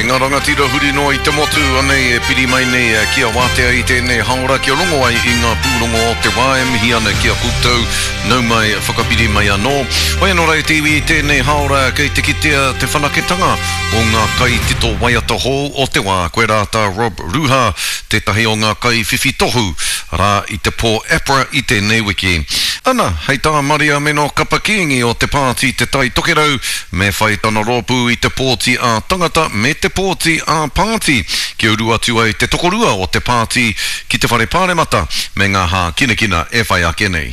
E ngā rangatira huri noa i te motu, anei e piri mai nei ki a Wātea i tēnei haora kia rongo ai i ngā pūrongo o te wā e mihi ana ki a koutou, nau mai, whakapiri mai anō. Hoi anō rā e te iwi i tēnei haora kei te kitea te whanaketanga o ngā kaitito waiata hou o te wā, koirā tā Rob Ruha, tētahi o ngā kaiwhiwhi tohu rā i te pō APRA i tēnei wiki. Ana, hei tā Mariameno Kapa Kīngi o te pāti Te Tai Tokerau, me whai tana rōpū i te pōti ā-tangata me te pōti ā-pāti kia uru atu ai te tokorua o te pāti ki te Whare Pāremata me ngā hākinakina e whai ake nei.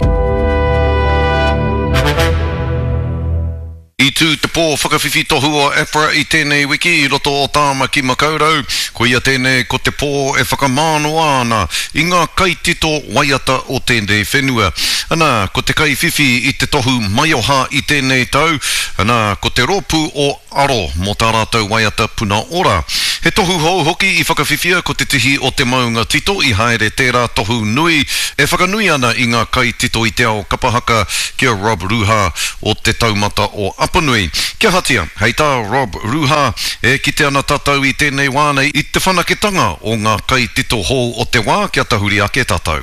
I tū te pō whakawhiwhi tohu o APRA i tēnei wiki i roto o Tāmaki Makaurau. Koia tēnei ko te pō e whakamānoa ana i ngā kaitito waiata o tēnei whenua. Ana, ko te kaiwhiwhi i te tohu maioha i tēnei tau, ana, ko te rōpū o Aro mō tā rātou waiata Puna Ora. He tohu hou hoki i whakawhiwhia ko te tihi o te maunga tito i haere tērā tohu nui e whakanui ana i ngā kaitito i te ao kapa haka ki a Rob Ruha o Te Taumata o Apanui. Kia ahatia, hei tā Rob Ruha, e kite ana tātou i tēnei wā nei i te whanaketanga o ngā kaitito hou o te wā kia tahuri ake tātou.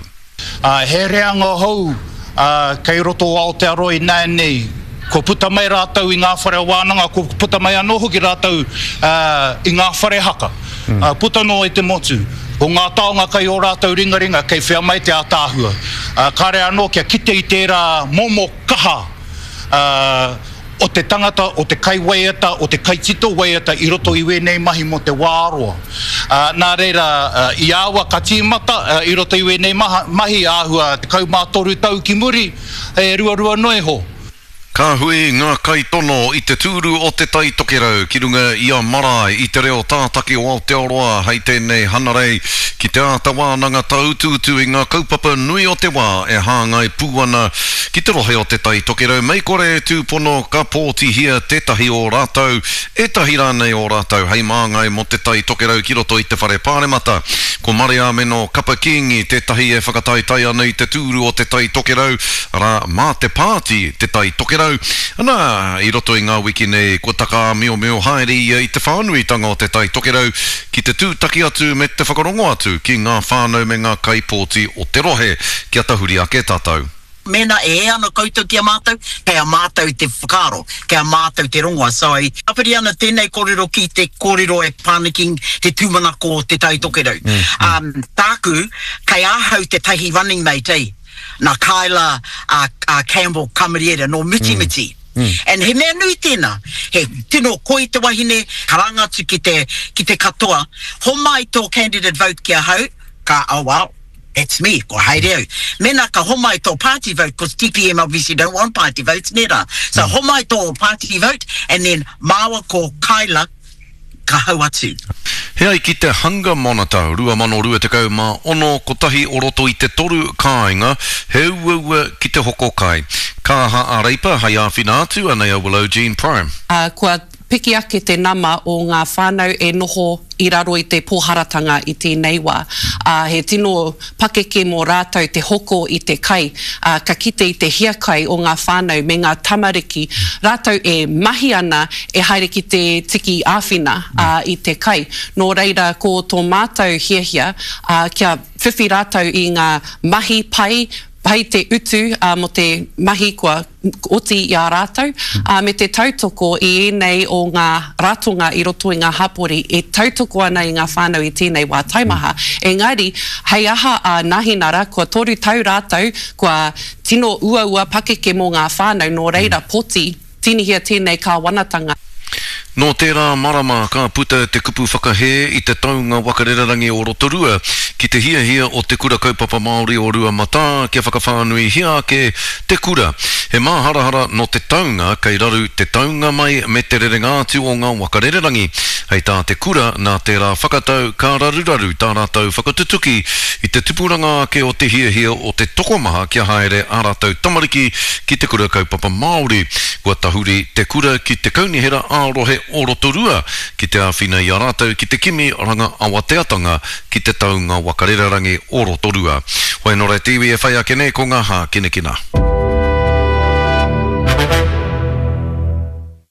Ā, he reanga hou kei roto o Aotearoa ināianei, kua puta mai rātou i ngā whare wānanga, kua puta mai anō hoki rātou i ngā whare haka, puta noa i te motu. Ko ngā taonga kei ō rātou ringaringa, kei whea mai te ātaahua. Kāre anō kia kite i tērā momo kaha o te tangata, o te kaiwaiata, o te kaitito waiata i roto i wēnei mahi mō te wā roa. Nā reira, i aua ka tīmata i roto i wēnei mahi āhua 13 tau ki muri, e ruarua noa iho. Ka hui ngā kaitono i te tūru o Te Tai Tokerau ki runga i a Marae i te reo tātaki o Aotearoa hei tēnei Hanarei ki te āta wānanga tāutuutu i ngā kaupapa nui o te wā e hāngai pū ana ki te rohe o Te Tai Tokerau mei kore e tūpono ka pōtihia tētahi o rātou, ētahi rānei o rātou hei māngai mō Te Tai Tokerau ki roto i te Whare Pāremata. Ko Mareameno Kapa Kīngi tētahi e whakataetae ana i te tūru o Te Tai Tokerau Arā, mā te pāti Te Tai Tokerau, ana, i roto i ngā wiki nei kua takaāmiomio haere ia i te whānuitanga o Te Tai Tokerau ki te tūtaki atu me te whakarongo atu ki ngā whānau me ngā kaipōti o te rohe. Kia tahuri ake tātou. Mēnā e hē ana koutou ki a mātou, kei a mātou te whakaaro, kei a mātou te rongoa. So, e tāpiri ana tēnei kōrero ki te kōrero e pā ana ki te tūmanako o Te Tai Tokerau. Tāku, kei ahau tētahi running mate, eh? Nā Kyla a, a Campbell Kamariera nō Mitimiti. And he mea nui tēnā. He tino koi te wahine, karanga atu ki te, ki te katoa, homai tō candidate vote ki ahau, ka, oh well, that's me, kua haere au. Mēnā ka homai tō party vote, cos TPM obviously don't want party votes, nē rā. So homai tō party vote, and then māua ko Kyla, ka hau atu. He ai ki te Hunger Monitor 2026, kotahi o roto i te toru kāinga, he uaua ki te hoko kai. Ka aha a Reipa hei āwhina atu, anei a Willow Jean Prime. Ā, kua piki ake te nama o ngā whānau e noho i raro i te pōharatanga i tēnei wā, ā, he tino pakeke mō rātou te hoko i te kai, ā, ka kite i te hiakai o ngā whānau me ngā tamariki, rātou e mahi ana e haere ki te tiki āwhina, ā, i te kai. Nō reira, ko tō mātou hiahia, ā, kia whiwhi rātou i ngā mahi pai, pai te utu, ā, mō te mahi kua oti i a rātou, ā, me te tautoko i ēnei o ngā ratonga i roto i ngā hapori e tautoko ana i ngā whānau i tēnei wā taimaha. Engari, hei aha a Nahinara, kua toru tau rātou, kua tino uaua pakeke mō ngā whānau, nō reira poti, tīnihia tēnei kāwanatanga. Nō tērā marama ka puta te kupu whakahē i te taunga waka rererangi o Rotorua ki te hiahia o Te Kura Kaupapa Māori o Ruamatā kia whakawhānuihia ake te kura. He māharahara nō te taunga kei raru te taunga mai me te rerenga atu o ngā waka rererangi. Hei tā te kura, nā tērā whakatau ka raruraru tā rātou whakatutuki i te tupuranga ake o te hiahia o te tokomaha kia haere ā rātou tamariki ki te Kura Kaupapa Māori. Kua tahuri te kura ki te Kaunihera ā-Rohe o Rotorua ki te āwhina i a rātou ki te kimi ranga awateatanga ki te taunga waka rererangi o Rotorua. Hoi anō rā te iwi e whai ake nei ko ngā hākinakina.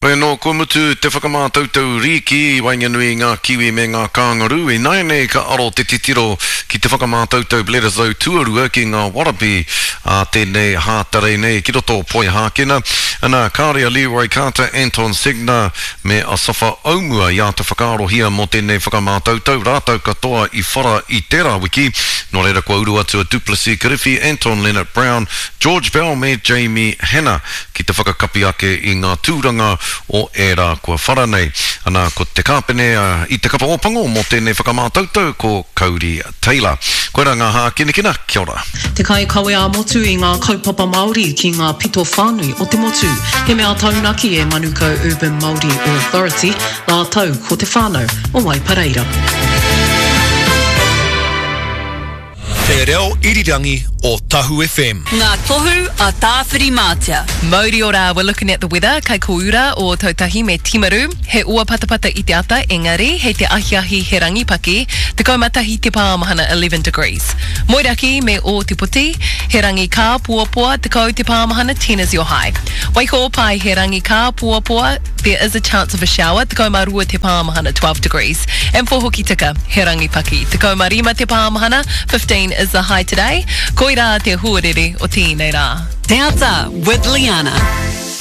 Hoi anō, kua mutu te whakamātautau rīki i waenganui i ngā Kiwi me ngā Kāngarū, ināianei ka aro te titiro ki te whakamātautau Bledisloe tuarua ki ngā Wallaby ā tēnei Hātarei nei ki roto o Poihākena. Ana, kāore a Leroy Carter, Anton Segner me Asafa Aumua i āta whakaarohia mō tēnei whakamātautau, rātou katoa i whara i tērā wiki, nō reira kua uru atu a Duplessis Kirifi, Anton Lienert-Brown, George Bell me Jamie Hannah. ki te whakakapi ake i ngā tūranga o ērā kua whara nei. Ana, ko te kāpene i te kapa Ōpango mō tēnei whakamātautau ko Kauri Taylor. Koirā ngā hākinakina, kia ora. Te kaikawe ā-motu i ngā kaupapa Māori ki ngā pito whānui o te motu. He mea taunaki e Manukau Urban Māori Authority rātou ko te whānau o Waipareira. Te reo irirangi o Tahu FM. Ngā tohu a Tāwhirimātea. Mauri ora, we're looking at the weather, kai Koura o Tautahi me Timaru, he ua patapata i te ata engari hei te ahiahi he rangi paki, 11 te pāmahana 11 degrees. Moeraki me Ōtepoti, he rangi kāpoapoa, 10 te pāmahana 10 is your high. Waikōpae, he rangi kāpoapoa, there is a chance of a shower, 12 te pāmahana 12 degrees. And for Hokitika, He rangi paki. 15 te pāmahana, 15 is the high today. Koirā te huarere o tēnei rā. Te Ata with Liana.